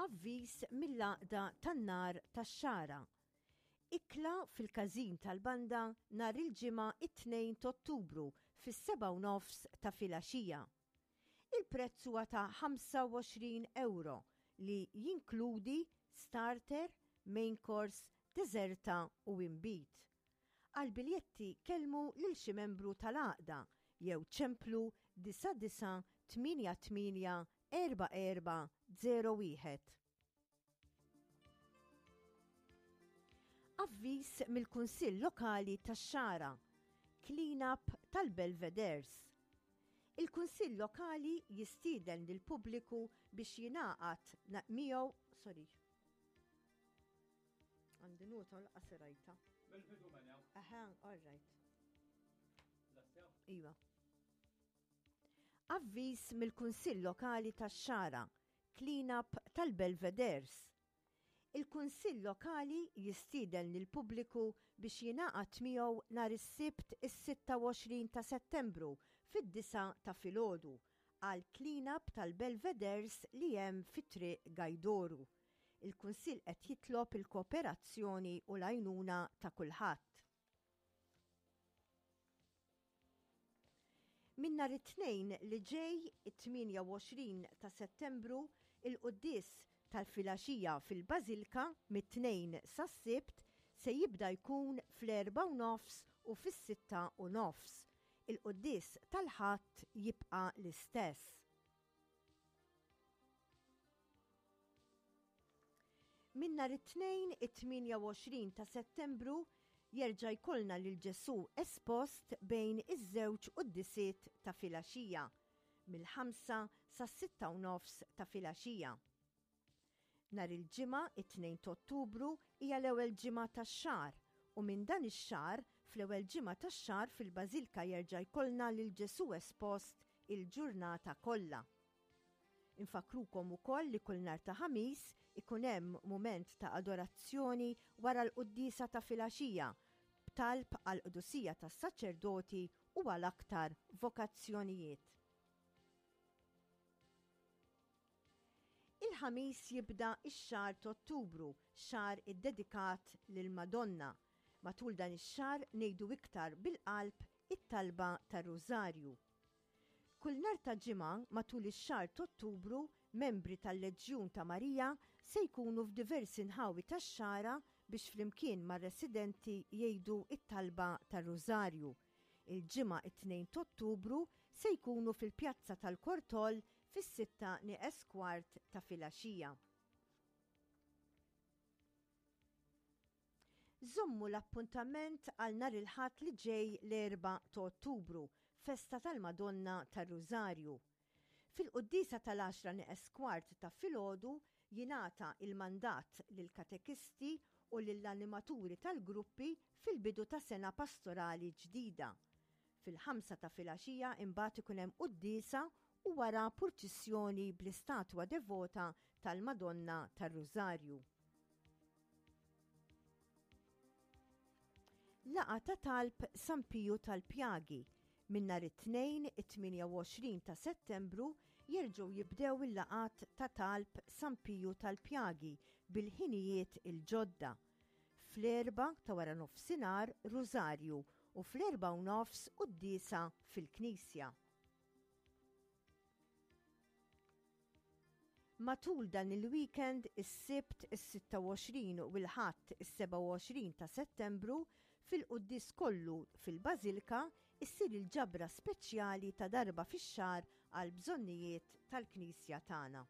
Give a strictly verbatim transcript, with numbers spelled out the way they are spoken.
Avviż mill-Għaqda tan-Nar tax-Xagħra. Ikla fil-każin tal-banda nhar il-Ġimgħa it-tnejn t'Ottubru fis-sebgħa u nofs ta' filgħaxija. Il-prezz huwa ta' ħamsa u għoxrin euro li jinkludi starter, main course, deżerta u inbid. Għal biljetti kellmu lil xi membru tal-għaqda jew ċemplu disa' disa' tmienja tmienja erba' erba' zero wieħed. Avviż mill-Kunsill Lokali tax-Xagħra, Clean-up tal-Belvederes. Il-Kunsill Lokali jistieden lill-pubbliku biex jingħaqad miegħu, sorry. Għandi nota u laqas rajta. Mill-bidu mela. Aha, all right. Lestew? Iva. Avviż mill-Kunsill Lokali tax-Xagħra, Clean-up tal-Belvederes. Il-Kunsill Lokali jistieden lill-pubbliku biex jingħaqad miegħu nhar is-Sibt is-sitta u għoxrin ta' Settembru fid-disgħa ta' filgħodu għal clean-up tal-Belvederes li hemm fi Triq Gajdoru. Il-Kunsill qed jitlob il-kooperazzjoni u l-għajnuna ta' kulħadd. Min nhar it-Tnejn li ġej, it-tmienja u għoxrin ta' Settembru, il-quddies tal-filgħaxija fil-Bażilka mit-Tnejn sas-Sibt se jibda jkun fl-erbgħa u nofs u fis-sitta u nofs. Il-quddies tal-Ħadd jibqa' l-istess. Min nhar it-Tnejn it-tmienja u għoxrin ta' Settembru jerġa' jkollna lil Ġesù espost bejn iż-żewġ quddisiet ta' filgħaxija, mill-ħamsa sas-sitta u nofs ta' filgħaxija. Nhar il-Ġimgħa it-tnejn ta' Ottubru hija l-ewwel ġimgħa tax-xahar u minn dan ix-xahar fl-ewwel ġimgħa tax-xahar fil-Bażilka jerġa' jkollna lil Ġesù espost il-ġurnata kollha. Infakkrukom ukoll li kull nhar ta' Ħamis ikun hemm mument ta' adorazzjoni wara l-quddiesa ta' filgħaxija b'talb għall-qdusija tas-saċerdoti u għal aktar vokazzjonijiet. Il-Ħamis jibda x-xahar ta' Ottubru, xahar iddedikat lill-Madonna. Matul dan ix-xahar ngħidu iktar bil-qalb it-talba tar-Rużarju. Kull nhar ta' Ġimgħa matul ix-xahar ta' Ottubru, membri tal-Leġjun ta' Marija se jkunu f'diversi nħawi tax-Xagħra biex flimkien mar-residenti jgħidu it-talba tar-Rużarju. Il-Ġimgħa it-tnejn ta' Ottubru se jkunu fil-Pjazza tal-Kortol fis-sitta nieqes kwart ta' filgħaxija. Żommu l-appuntament għal nhar il-Ħadd li ġej l-erbgħa ta' Ottubru, festa tal-Madonna tar-Rużarju. Fil-quddiesa tal-għaxra nieqes kwart ta' filgħodu jingħata il-mandat lill-katekisti u lill-animaturi tal-gruppi fil-bidu ta' sena pastorali ġdida. Fil-ħamsa ta' filgħaxija imbagħad ikun hemm quddiesa u wara purċissjoni bl-istatwa devota tal-Madonna tar-Rużarju. Laqgħa ta' talb San Piju tal-Pjagi. Minn nhar it-Tnejn it-tmienja u għoxrin ta' Settembru jerġgħu jibdew il-laqgħat ta' talb San Piju tal-Pjagi bil-ħinijiet il-ġodda. Fl-erbgħa ta' wara nofsinhar Rużarju u fl-erbgħa u nofs quddiesa fil-Knisja. Matul dan il-weekend, is-Sibt is-sitta u għoxrin u l-Ħadd is-sebgħa u għoxrin ta' Settembru, fil-quddies kollu fil-Bażilka issir il-ġabra speċjali ta' darba fix-xahar għal bżonnijiet tal-Knisja tagħna.